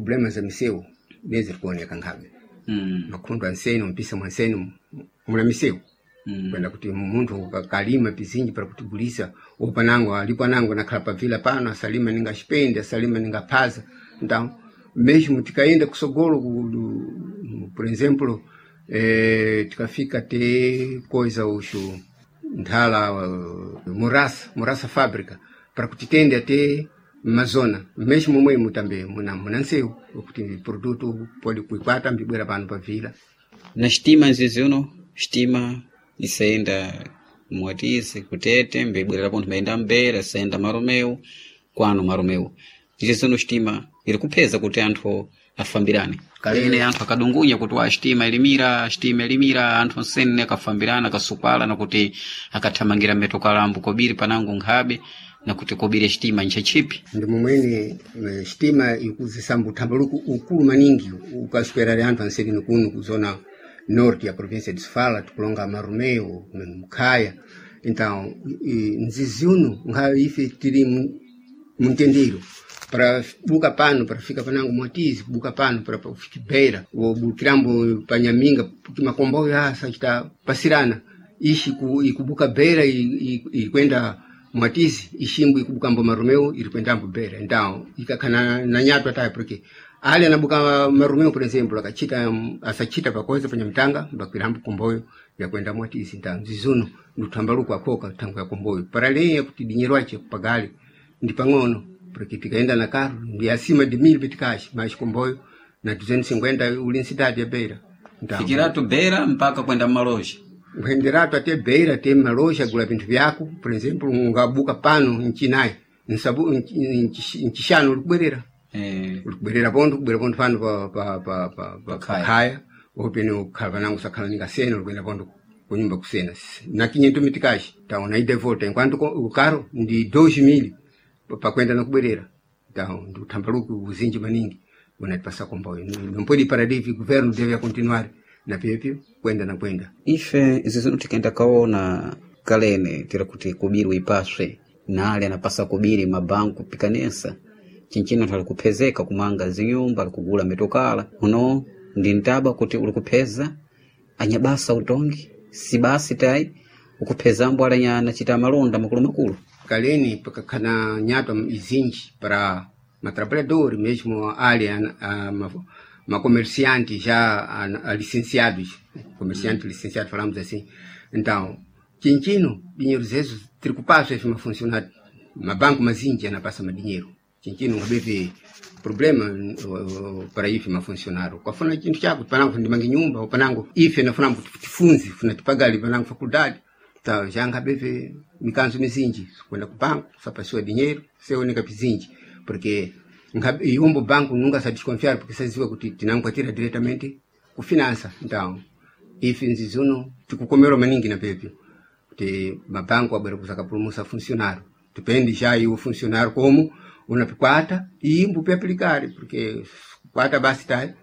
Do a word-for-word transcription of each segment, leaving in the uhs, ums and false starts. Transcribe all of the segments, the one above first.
Problema za misewu nezi kuoneka nkhabe. Mm. Makhundu anseni mpisa mwanseni muna misewu. Mm. Kwenda kuti munthu ukakalima pizinji para kutigulisa upanango alipo anango nakhala pavila pano asalima ninga xipende asalima ninga phaza. Então mesmo tikaenda kusogolo ku, ku- por exemplo, eh, tikafika te coisa uxu nthala uh, murasa murasa fábrica para kuti tende até mazona mesmo momwemo também muna muna nsewu kuti produto pode kuikwata mbibwera pano pavila. Na xitima nzizi uno xitima isayenda mwatisi kutete mbibwerera pontho mbayenda mbera isayenda maromeu kwano maromeu izi zino xitima iri kupheza kuti anthu afambirane. Kalene anthu akadungunya kuti wa xitima ilimira xitima ilimira anthu onsene akafambirana akasukwala nakuti akathamangira mmetokalambo kobiri panango nkhabe nakuti kobiri xitima nchachipi. Ndi momwene eh, xitima ikuzisamba uthambaluku ukulu maningi ukaswera anthu anselini kuno kuzona norte ya província de Sofala tikulonga Marumeu Mkhaya. Então i- nzizi uno nkhayo ife tili mu- muntendero para buka pano para fika panango Mwatizi buka pano para kufika Beira wobukirambo panyaminga kuti makomboyo asa chita pasirana ishi ku, ikubuka Beira ikwenda Mwatizi ishimbu ikubukambo Marumeu iri kwendambo Beira. Então ikakhana na nyatwa tayo porque ali anabuka Marumeu por exemplo akachita asachita pakoza panyamtanga mbakwirambo komboyo yakwenda Mwatizi. Então zizuno nduthambaluko akhoka thango ya komboyo para leya kuti dinheiro ache kupagali ndi pang'ono porque tikaenda na carro ndi acima de mil meticais mais comboio na duzentos e cinquenta uli ncidade ya Beira. Então fikiratu Beira mpaka kwenda mmaloja kuenderatu até Beira até maloja gula vinthu vyako por exemplo ungabuka pano ncinayi nsabu ncixano ulikubwerera eh. ulikubwerera pontho kubwera pontho pano pa pa pa pa pa Pakhaya. pakhaya opene ukhala panango usakhala ningasena ulikwenda pontho kunyumba kusena na quinhentos meticais então na ida e volta enquanto ko- o carro ndi dois mil pakwenda nakubwerera. Então ndi uthambaluki uzinji maningi unatipasa komboyo. Não pode parar de governo deve continuar na pyepyo kwenda na kwenda. Ife izi zino tikaenda kaona kalene tira kuti kubiri uipaswe nale anapasa kubiri mabanku pikanesa chinchino anthu alikuphezeka kumanga zinyumba alikugula mitokala uno ndi ntaba kuti ulikupheza anyabasa utongi si basi tayi ukuphezambo alanya anachita malonda makulumakulu. Kaleni pakakhana nyatwa izinji para matrabalhadores mesmo ali a, a, ma, macomerciante já a, a licenciados comerciante licenciado falamos assim. Então chinchino dinheiro zezo tiri kupaswa ife mafuncionário mabanco mazinji anapasa madinheiro chinchino ngabeve problema uh, para ife mafuncionário kwafuna chinthu chako panango ndimange nyumba panango ife nafuna kuti tifunze funa tipagali panango faculdade ta jangabeve mikanzo mizinji kwenda ku banco sapasiwa dinheiro seoneka pizinji porque nga- iombo banco nunca sa desconfiar porque saziwa kuti tinankwatira diretamente ku finança. Então ife nzizuno tikukomerwa maningi na pepyo kuti mabanco abwera kuzakapulumusa funcionário depende já e o funcionário como unapikwata e mbupe aplicar porque kwata basi tá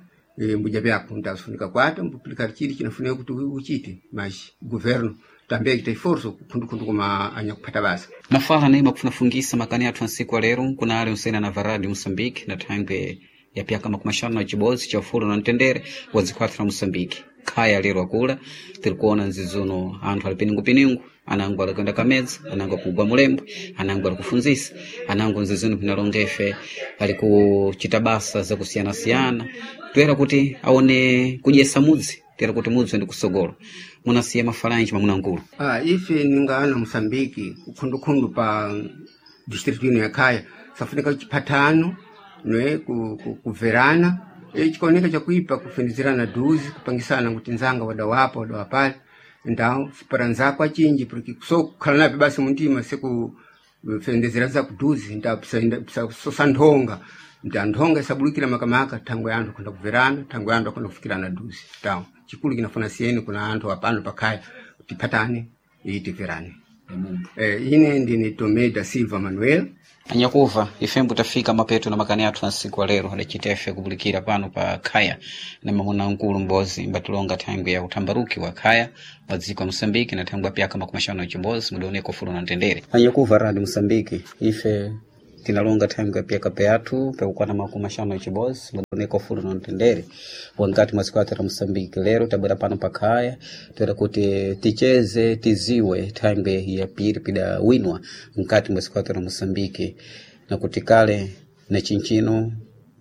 mbuja vyako então sifunika kwata mbuplicar chili chinafunika kuti uchite mas governo também que tem força kundu kuma anyakupata basa. Mafala naye makufunafungisa makani athu ansiku alero kuna ali unsena na varadi Moçambique na thangwe ya pyaka makumi axanu na chibodzi cha ufulu na mtendere wa dzikwathu la Moçambique khaya lero akula tiri kuona nzizuno anthu ali piningupiningu anango ali kuyenda kamedza anango akugwa mulembwe anango ali kufunzisa anango nzizuno pinalonga ife ali kuchita basa zakusiyanasiyana toyera kuti aone kudyesa mudzi tera kuti mudzi ndi kusogolo munasiya mafalanji mamunangulu. Ah, ife ningana Moçambique kukhundukhundu pa distrito ino ya Khaya safunika chipatano ne ku, ku, kuverana e chikaoneka chakuipa kufendezerana duzi kupangisana kuti nzanga wadawapa wadawapale. Então para nzako achinji porque so kukhala nape basi muntima seku fendezera nzako duzi então sosa nthonga nta nthonga isabulukira makamaka thangwe ya anthu akhonda kuverana thangwe ya anthu akhonda kufikirana duzi. Então chikulu kinafuna siyeni kuna anthu apano pakhaya tiphatane e tiverane. Eh, ine ndine Tomé da Silva Manuel. Anyakuva ifembo tafika mapeto na makani athu ansiku alero adacita ife kupulikira pano pa khaya na mamuna nkulu mbozi mbatilonga thangwi ya uthambaruki wa khaya wa dziko ya Moçambique na thangwi ya pyaka makumi axanu na chimbozi mudaoneka ufulu na mtendere. Anyakuva radi Moçambique ife Tinalonga thangwe pia peatu pekukwana makumi axanu na chibozi madoneko fulu na mtendere wankati mwa siku athu ra Moçambique. Lero tabwera pano pakhaya toera kuti ticheze tiziwe thangwe ya piri pida winwa nkati mwa siku athu ra Moçambique na kuti kale na chinchino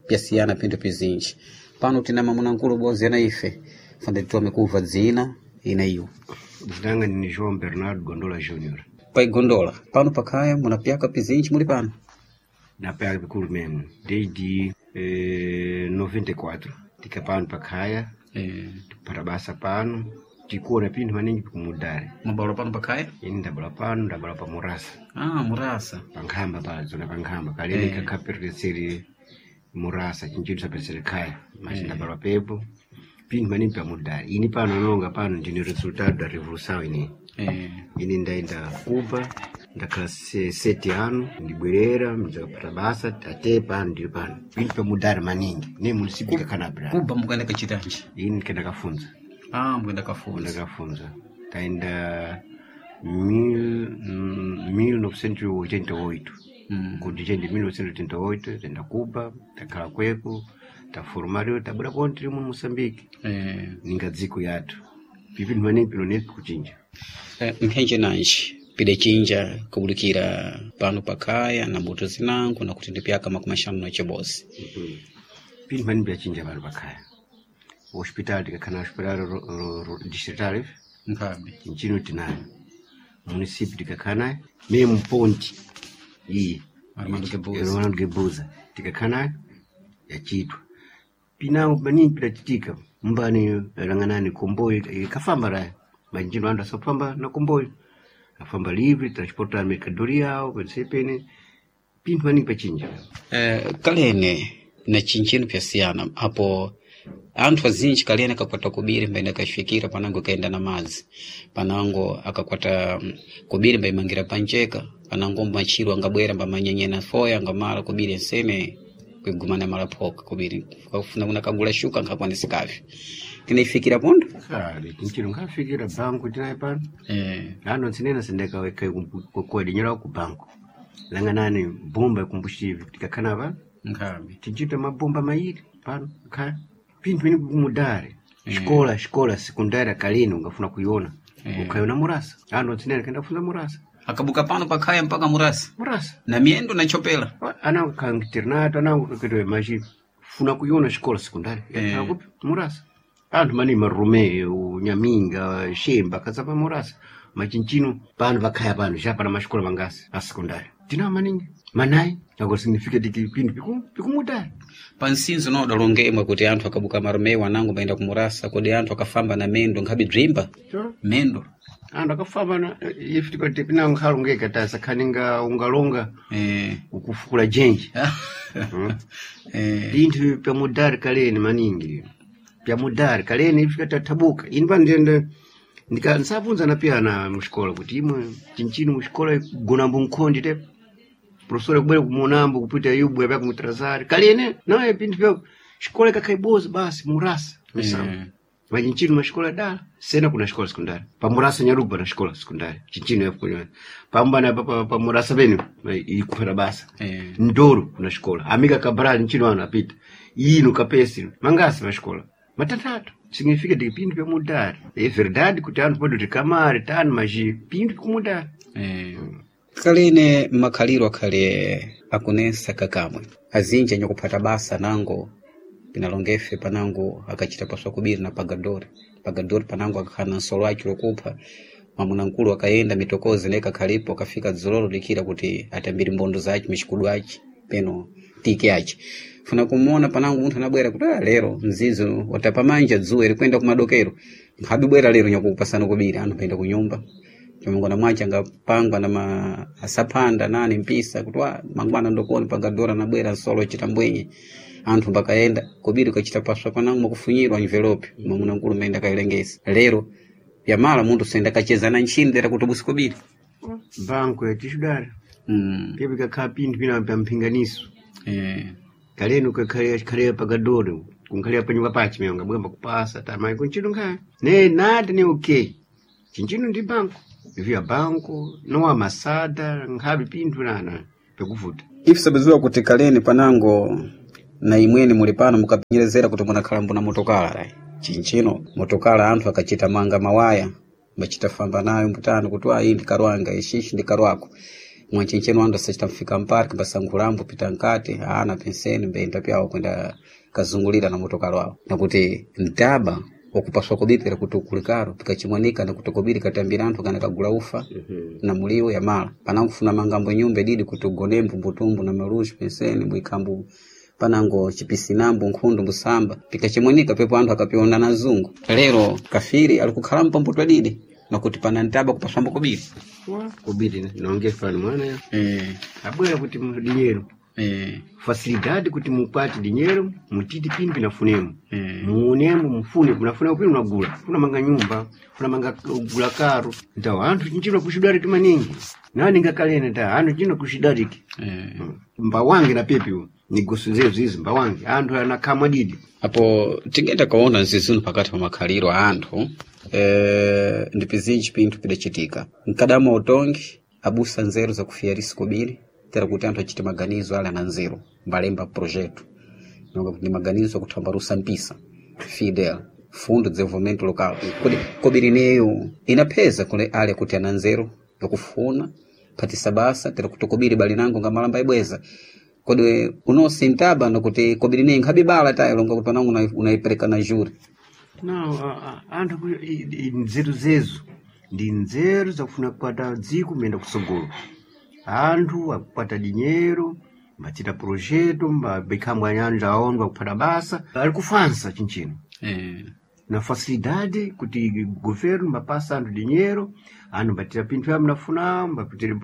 pyasiyana pinthu pizinji. Pano tina mamunankulu bozi ana ife fande titome kuva dzina ina iwo Zinanga ni João Bernardo Gondola Júnior. Pai Gondola, pano pakhaya munapyaka pizinji muli pano Napyaka pikulu mesmo desde eh, noventa e quatro tika pano pakhaya eh, para basa pano tikuona pinthu maningi pikumudare mabalo pano pakhaya ini ndabala pano ndabala pa murasa ah, murasa pankhamba pa zona pankhamba kalene Eh. kakhaperekeseri murasa chinchito sapesere khaya mas ndabala pepo pinthu maningi pamudare ini pano nonga pano ndine resultado da revolução ini eh, ini ndaenda Cuba ndakhala se, sete ano ndibwerera ndizakapata basa ate pano ndili pano pinthu pamudare maningi ne município kakanabra Kuba mukaenda kachitanji ini ndikendakafunza ah, mukaenda kafunza ndakafunza taenda mil, mm, mil novecentos e oitenta e oito mm. contingente de mil novecentos e oitenta e oito taenda Cuba takhala kweko taformario tabwera konti tili mu Moçambique eh, ninga dziko yathu pipinthu maningi pino nepi kuchinja eh, mphenje nanji pidachinja kubulikira pano pakhaya na mbuto zinango nakuti ndipyaka makumi axanu na chibozi pinthu maningi pyachinja pano pakhaya hospital tikakhala na hospital ro- ro- ro- distrital nkhabe chinchino tinayo município tikakhala nayo memo ponte iyi Armando Guebuza. Armando Guebuza tikakhala nayo yachitwa pinango maningi pidachitika mbani ranganani komboyo ikafamba raya machinchino anthu asafamba na komboyo afamba livre transportar mercadoria yawo pensepene pinthu maningi pachinja eh, kalene na chinchino pyasiyana apo anthu azinji kalene akakwata kubiri mbaenda kachifikira panango kaenda na madzi panango akakwata mm, kubiri mbaimangira panjeka panango machiro angabwera mbamanyenyena foya angamala kubiri ensene kuigumana mala phoka kubiri kafuna kuna kagula shuka nkhakwanisikavi tinaifikira pondo kale chinchino nkhafikira banku tinayo pano eh, ano tsinena sindeka kuedinyera ku banku langanani bomba ikumbuxivi tikakhala pano nkhabe tinchita mabomba mairi pano khala pinthu pene kumudare xikola xikola sekundária kalene ungafuna kuiona Eh. ukhayona murasa ano tsinena kenda kufunza murasa akabuka pano pakhaya mpaka murasa murasa na miyendo na chopela anango khala internato anango kaketoe machi funa kuiona xikola sekundária Eh. yakhala kupi murasa anthu maningi marume nyaminga shemba akazapa murasa machinchino pano pakhaya pano xa pana maxikola mangasi a sekundária tinawo maningi manayi agora significa de que pinthu piku- pikumudare pansinzo no udalongemwe kuti anthu akabuka marumewo anango mbaenda kumurasa kodi anthu akafamba na mendo nkhabe bzimba Sure. mendo anthu akafamba na ife tikati pinango nkhalongeka tasakhaninga ungalonga eh. ukufukula jenji eh. pinthu pyamudari kaleni maningi pyamudari kaleni ifika tathabuka ini pano ndiyenda ndika nsabvunzana piyana muxikola kuti imwe chinchino muxikola gonambo nkhondi te professor kubwera kumunambo kupita yubwe pya kumutrazari kalene naye pinthu pya xikola ikakhayiboza basi murasa misambo Eh. machinchino maxikola dala sena kuna xikola sekundari pamurasa nyarugu pana xikola sekundari chinchino yakunyana pambana pa- pa- pamurasa pene ikuphata basa Eh. ndoro kuna xikola amika cabral nchino ano apita ino kapesi mangasi maxikola matatatu significa de pinthu pyamudari é verdade kuti anthu pode kuti kamari tani maji pinthu pikumudari Eh. Kalene makhaliro akhale akunesa kakamwe azinji anyakuphata basa nango pinalongefe panango akachita paswa kubiri na pagadori pagadori panango akakhala na nsolo aci lokupha mwamunankulu akayenda mitokozi naye kakhalipo akafika dzololo dikira kuti atambiri mbondo zace mixikudu aci peno tiki aci funa kumuona panango munthu anabwera kuti ah, lero mzizo watapa manja dzuwa ilikwenda kumadokero nkhabibwera lero nyakupasana kubiri anthu penda kunyumba chomangwana mwache angapangwa na ma asaphanda nani mpisa kuti wa mangwana ndokoni pagadora nabwera nsolo chita mbwenye anthu mbakayenda kobiri ukachita paswa panango makufunyirwa envelope mwamuna nkulu maenda kailengesa lero yamala munthu senda kacheza na nchini lera kuti busi kobiri banku yatixudari mm. pye pikakhala pinthu pina pya mphinganiso eh. kaleni ukakhalira pagadori kunkhalira panyumba pache meyo ngabwemba kupasa tamayi kunchino nkhaya ne nati ne okay chinchino ndi banku via banku nowa masada nkhabe pinthu nana pekuvuta Ife sabiziwa kuti kaleni panango na imweni muli pano mukapenyerezera kuti munakhala mbuna motokala lai chinchino motokala anthu akachita manga mawaya mbachita famba nayo mbutano kuti ayi ndikarwanga ishishi ndikarwako mwanchinchino anthu asachita mfika mparki mbasankhulambo pita nkati ana penseni mbenda pyawo kwenda kazungulira na motokala wawo nakuti mtaba wakupaswa kubipira kuti ukulikaro pikachimwanika nakuti kobiri katambira anthu kana kagula ufa na muliwo ya mala panangofuna mangambo nyumba ididi kuti ugonembo mbutumbu na maluxi penseni mbwikambu panango chipisinambo nkhundu mbusamba pikachimwanika pepo anthu akapiona na zungu lero kafiri alikukhala mpambuto adidi nakuti pana ntaba kupaswambo kobiri Wa, kobiri nonge fano mwana ya eh, abwera kuti mu dinheiro eh, facilidade kuti mupate dinheiro mutiti pini pinafunemo eh. muonemo mufune munafuna upini unagula funamanga nyumba funamanga gula karo ntawo anthu chinchino kuxidariki maningi nani ngakalene ta anthu chino kuxidariki Eh. mbawange na pepi nigoso zezu izi mbawange anthu anakhamwa didi apo tingenda kuona nzizunu pakati pa makhaliro a anthu eh, ndi pizinji pinthu pidacitika mkadama utongi abusa nzeru zakufiyarisi kobiri tera kuti anthu achite maganizo ali ana nzeru mbalemba projeto nonga kuti ndi maganizo akuthambarusa mpisa fidel fundo de desenvolvimento local kuti kobiri neyo inapheza kule ale kuti ana nzeru yakufuna phatisa basa tera kuti kobiri bali nango ngamalamba ibweza kodi unosintaba nokuti kobiri neyo nkhabibala tayo longa kuti panango unai- unaipereka na juri no a- a- anthu ku- i- i- nzeru zezu ndi nzeru zakufuna kukwata dziko muyenda kusogolo anthu akukwata dinheiro mbachita projeto mbabekhambwa anyanja aondwa kuphata basa ali kufansa chinchino eh. na facilidade kuti governo mbapasa anthu dinheiro anthu mbatira pinthu ya mnafuna mbapitire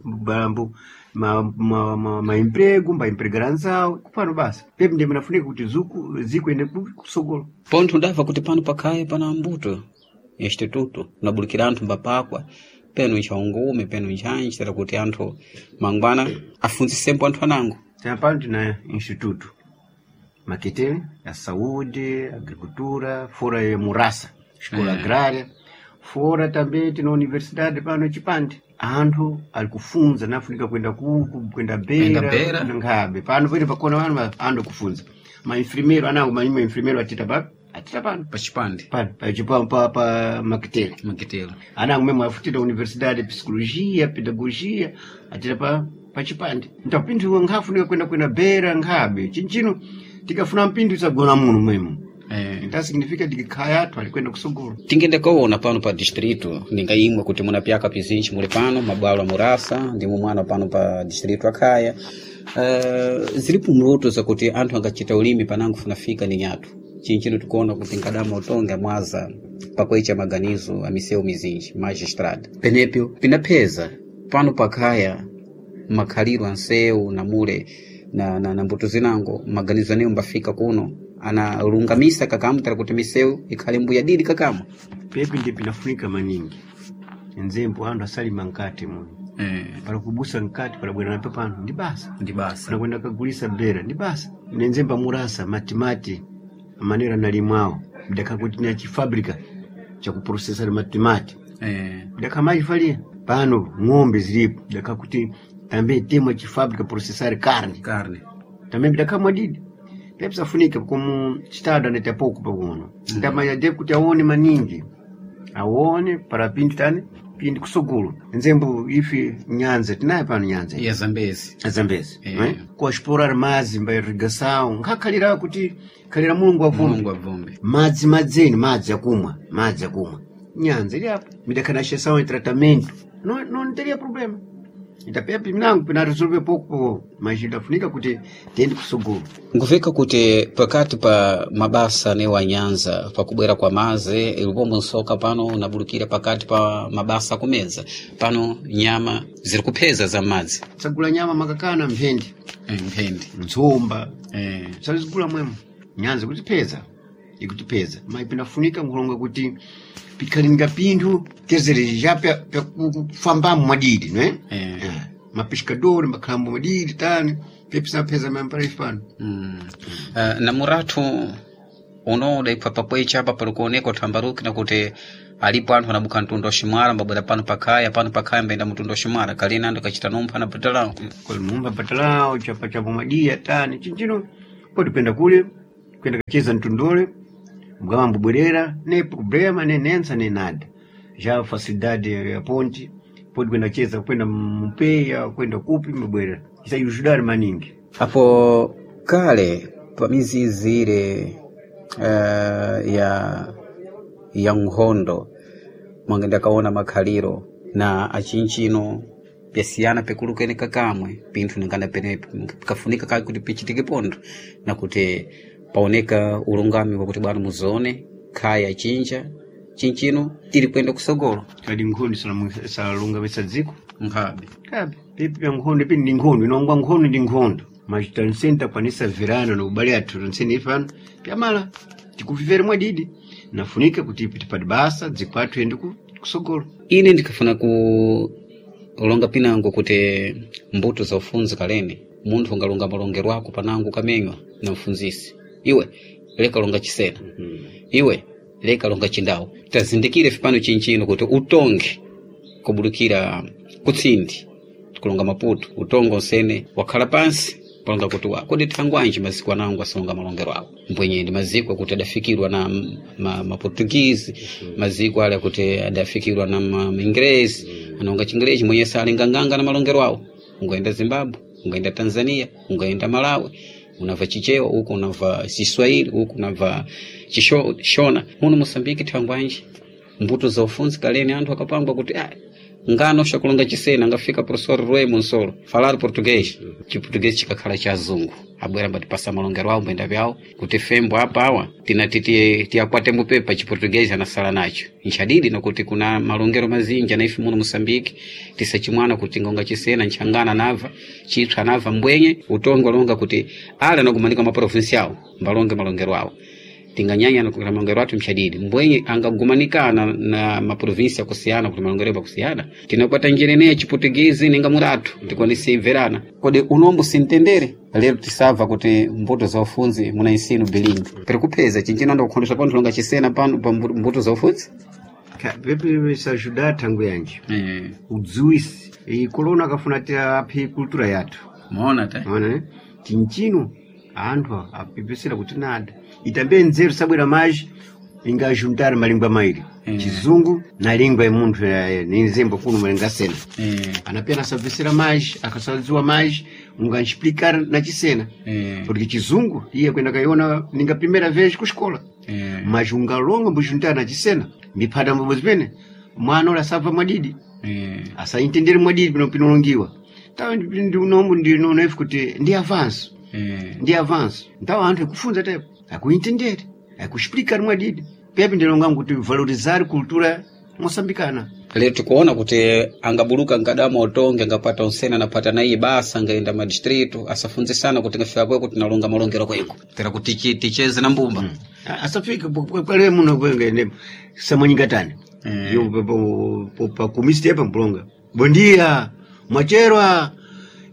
balambo ma, ma, ma, ma emprego mbaempregara anzawo kupano basa pepi ndiye mnafunika kuti zuku dziko ende ku- kusogolo pontho ndamva kuti pano pakhaye pana mbuto instituto unabulikira anthu mbapakwa penu nchaungume penu nchanji tera kuti anthu mangwana afunzisembo anthu anango Tena tina instituto Maquetele, ya saúde, agricultura, fora ya murasa, escola Eh. agrária, fora também tina universidade pano chipande. Anthu ali kufunza nafunika kwenda kuku, kwenda Kwenda Beira, Beira. nkhabe. Pano pene pakona vanu va- anthu akufunza. Ma enfermeiro anango ma enfermeiro atita pa atita pano. pachipande Pano pa pa, pa, pa Maquetele. makitelo Anango mesmo afutira universidade de psicologia, pedagogia, atira pa pa chipande. Então pinthu nkhafunika kwenda kwenda Beira nkhabe. Chinchino tikafuna mpindu isagona muno mwemo. eh. Então significa tikikhaya athu ali kwenda kusogolo. tingende kuona pano pa distrito ninga imwe kuti muna pyaka pizinji muli pano mabwalo a murasa ndimo mwana pano pa distrito akhaya uh, zilipo mloto zakuti anthu angachita ulimi panango funafika ni nyatu chinchino tikuona kuti nkadama utonge mwaza pakuicha maganizo a misewu mizinji magistrada penepyo pinapheza pano pakhaya makhaliro ansewu namule na, na, na mbuto zinango maganizo aneyo mbafika kuno analungamisa kakamutala kuti misewu ikhale mbuya didi kakamwa Pepi ndi pinafunika maningi. Nzembo anthu asalima nkati muno. eh, Pala kubusa nkati pala bwera napo pano ndi basa. ndi basa Pala kwenda kagulisa Beira ndi basa. Nenzemba murasa matimati manera nalimwawo. Mdaka kuti na chifabrika cha kuprocessar matimati. eh, dakamayifalia pano ng'ombe zilipo dakakuti tambe temwa chifabrika processar carne carne tambe dakamwa didi pepsafunika como estado anete pouco pakuno ndamanya de kuti aone maningi aone para pindu tani pindi kusogolo nzembo ife nyanza tinayo pano nyanza ya zambezi zambezi Eh. eh? kuexplorar madzi mba irrigação nkakhalira kuti khalira mulungu avumbi mulungu abvumbe madzi madzeni madzi akumwa madzi akumwa nyanza ili apo midakhanashesawo em tratamento não, não teria problema itapepi mnango pina resolver pouco mas idafunika kuti tiende kusogolo nkufika kuti pakati pa mabasa ne wa nyanza pakubwera kwa maze ilipombo nsoka pano unabulukira pakati pa mabasa akumedza pano nyama ziri kupheza za madzi tsagula nyama makakana mphendi eh, mphendi ntsomba eh. salizigula mwemo nyanza ikutipeza ikutipeza mas pinafunika nkulonga kuti pikhalinga pinthu tezere já pyakufambamo mwadidi não é? Eh. Eh, mapescador makhalambo mwadidi tani pepisa maparaisi pano Mm. Uh, na muratu unoda ipha pakwecha apa pali kuoneka uthambaruki nakuti Alipo anthu anabuka mtundu wa Ximwala mbabwera pano pakhaya pano pakhaya mbayenda mtundu wa Ximwala kalina anthu akachita numpha na batalao Mumba patalao chapa cha pomadia tani chinchino poti kwenda kule kwenda kacheza mtundole mgama mbubwerera ne problema ne nensa ne nada já facilidade ya ponte poti kwenda cheza kwenda mpeya kwenda kupi mbubwerera isayujudari maningi apo kale pa mizizi ile uh, ya ya nkhondo mwangenda kaona makhaliro na achinchino pyasiyana pekulukene kakamwe pinthu ningana pene pikafunika kale kuti pichitike pontho na kuti paoneka ulungami wakuti bwana muzone khaya chinja chinchino tili kwenda kusogolo kadi nkhondo salungamisa dziko nkhabe kabe pipi pya nkhondo ipi ndi nkhondo inongwa nkhondo ndi nkhondo mas tanseni takwanisa verano na ubale athu tanseni ifano pyamala tikuvivere mwadidi nafunika kuti ipi tipati basa dziko athu ende ku- kusogolo ine ndikafuna kulonga pinango kuti mbuto za ufunzi kalene munthu ungalonga malongero ako panango kamenywa na mfunzisi iwe leka longa chisena iwe leka longa chindawu tazindikire fipano chinchino kuti utonge kubulukira kutsindi kulonga maputo utongo nsene wakhala pansi palonga kuti wa kodi thangwanji maziko anango asalonga malongero awo mbwenye ndi maziko akuti adafikirwa na ma, ma maportuguese maziko ale akuti adafikirwa na ma, maingresi anaonga chingerezi mwenye sali nganganga na malongero awo ungaenda Zimbabwe ungaenda Tanzania ungaenda Malawi unava Chichewa huku unava Chiswahili huku unava Chishona muno Mosambiki thangwanji mbuto za ufunzi kaleni anthu akapangwa kuti ah, ngano xakulonga chisena angafika professor Rui Monsolo falar português chiportuguês chikakhala cha azungu abwera mbatipasa malongero awo mbwenda vyawo kuti fembo apa awa tinati tiye- tiyakwate mbupepa chiportuguês anasala nacho nchadidi nakuti kuna malongero mazinji anaife muno Moçambique tisachimwana kuti ngonga chisena nchangana nava chitswa nava mbwenye utongo alonga kuti ala anagumanika maprovinsi awo mbalonge malongero awo tinganyanya na malongero athu mchadidi mbwenye angagumanikana na maprovinsi akusiyana kuti malongero akusiyana tinakwata njeneneya chiputugizi ninga muratu tikwanise imverana kodi unombo sintendere lero tisabva kuti mbuto za ufunzi muna ensino bilingi peri kupeza chinchino anda kukhondesha pano longa chisena pano pa mbu- mbuto za ufunzi Ka- pepe sajuda thangu yanji eh, udziwisi iyi kolona akafuna ti aphe kultura yathu maona ta ona eh? chinchino anthu apepesera kuti nada itambe nzeru sabwera maji ingajuntar malingwa mairi Mm. chizungu na lingwa imunthu eh, ni nzembo kuno malinga sena eh, anapena asabvesera maji akasadziwa maji unganxiplicar na chisena eh, porque chizungu iye kwenda kaiona ninga primeira vez kuxikola eh, mas ungalonga mbujuntar na chisena miphata mbobo zimene mwana ula asabva mwadidi eh. asaintendere mwadidi pino pinolongiwa tawa ndiunombo ndinonefu kuti ndi avanço eh. ndi avanço então anthu ekufunza tepo akuintendere akuexplicar mwadidi pepe ndilongangu kuti valorizar cultura moçambicana lero tikuona kuti angabuluka nkadama utonge angapata unsena anapata na iye basa angaenda madistrito asafunzisana kuti ngafika kweko tinalonga malongero kweko tera kuti tiche- ticheze na mbumba mm. asafika kwale muno kwengene samanyingatani Eh. yo pakumisi tepa mpulonga bondia mwacherwa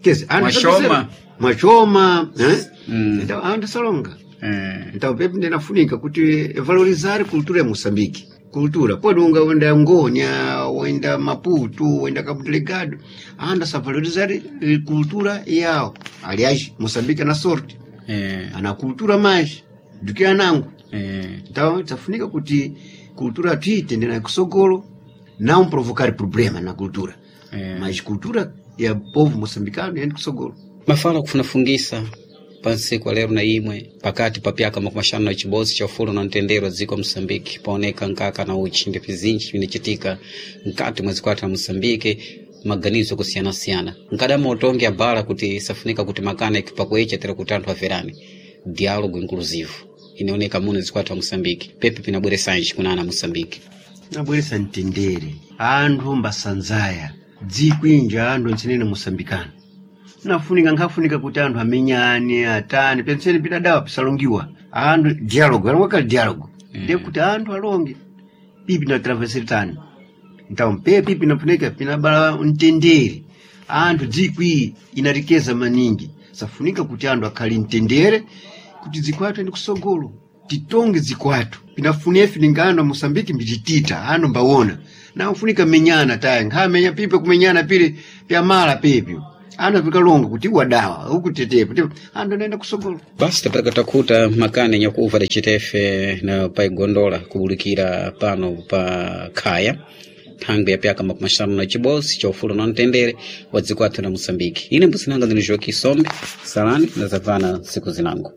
kesi anthu Mwachoma. asapesera. mwachoma eh? Mm. Então, anthu asalonga eh. então pepe ndinafunika kuti valorizar cultura ya moçambique cultura pode unga wenda ngonya wenda maputo wenda cabo delegado anda savalorizar eh, cultura yawo aliás moçambique ana sorte Eh. ana cultura mais do que anango Eh. então tafunika kuti cultura tuitende na kusogolo não provocar problema na cultura Eh. mas cultura ya povo moçambicano yende kusogolo mafala kufunafungisa pansiku alero na imwe pakati pa pyaka makumi axanu na chibodzi cha ufulu na mtendere dziko Moçambique paoneka nkaka na uchi ndi pizinji bzinacitika mkati mwa zikwata la Moçambique maganizo kusiyanasiyana nkadama utonge abala kuti isafunika kuti makana ikipakwecha tera kuti anthu averane diálogo inclusivo inaoneka muno zikwata la Moçambique pepe pinabweresanji kuna ana Moçambique nabweresa mtendere anthu mbasanzaya dzikwinja anthu ntsenene moçambicano nafunika nkhafunika kuti anthu amenyane atani penseni pidadawa pisalongiwa anthu dialogue alongakali dialogue Mm. ndiye kuti anthu alonge pipi na travesetani então pepi pinafunika pinabala mtendere anthu dzikwi inarekeza maningi safunika kuti anthu akhale mtendere kuti dziko athu ende kusogolo Titonge zikwatu pinafunia filingano Mosambiki mbititita ano mbawona na ufunika menyana taya nkhamenya pipe kumenyana pile pyamala pipyo ano pikalonga kuti wadawa ukutetepo tepo ando naenda kusogolo. Basi tapataka takuta makani nyakuva dacitefe na paigondola kubulikira pano pa khaya thangwi yapyaka makumi axanu na chibodzi cha ufulu na mtendere wa dziko athu la Moçambique. Ine mbuzinanga ndine Joaquim Sombe salani ndazabvana siku zinango.